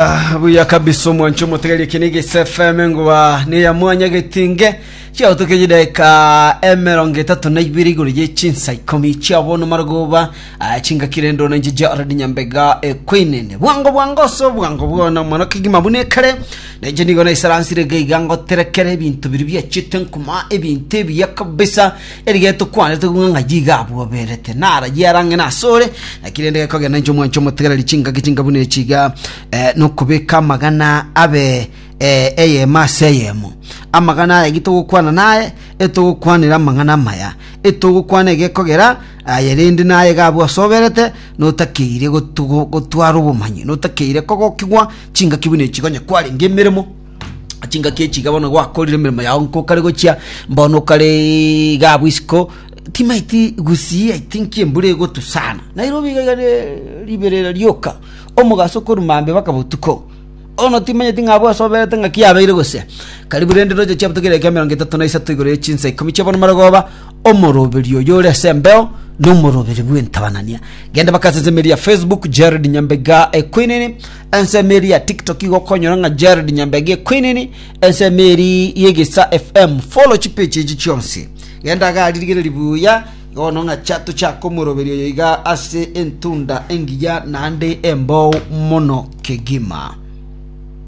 Ah, buya kabisa omwancho omotegeria eke niga FM enguba neya mwanya getinge chiagotoka chidaeka emerongo etato na ibere igoro ye chinsa ikomi chia bono marogoba ah, chingaki rende ona inche Jared Nyambega ekwinene bwango bwango ase obwango bwona mono kegima buna ekare na inche nigo naisaransire iga iga ngoterekere ebinto biria biachete nkuma ebinto ebiya kabisa Erigeto tokwanete ng'a ng'ai iga abwoberete, narayie arang'e asore, naki rende gekogenda inche omwanche omotegereri chingaki chinga buna echi iga, eh, nokobeka amagana abe eh, eyemo ase eyemo. Amagana aya gitogokwana naye, etogokwanera amang'ana amaya, etogokwana egekogera aye rende naye iga abwo asoberete, notakeire gotugo gotwara obomanyi, notakeire kogokigwa chingaki buna echi konya kwarenge emeremo. Chingaki echi iga bono gwakorire emeremo yao nkokare gochia mbono okare iga abwo isiko timaeti gusii I think embura egotwa sana. Nairobi iga iga ne riberera rioka omogaso korwa mambia mpaka botuko. Bono timanyeti ng'a abwo ase oberete ng'aki yabeire gose. Karibu rende roche chiabuto kera ekia emerongo etato na isato igoro ye chinsa ikomi chia bono marogoba, omoroberi oyo ore ase embeo nomoroberi bw'entabanania. Genda mpaka ase ensemo eria ya Facebook Jared Nyambega Equinini. Ensemo eria ya TikTok igo okonyora ng'a Jared Nyambega Equinini, ensemo eri y'Egesa FM. Follow chipage echi chionsi. Genda iga aria rigereria buya, bono ng'a cha tochake omoroberio oyo iga ase entunda engiya naende embou mono kegima.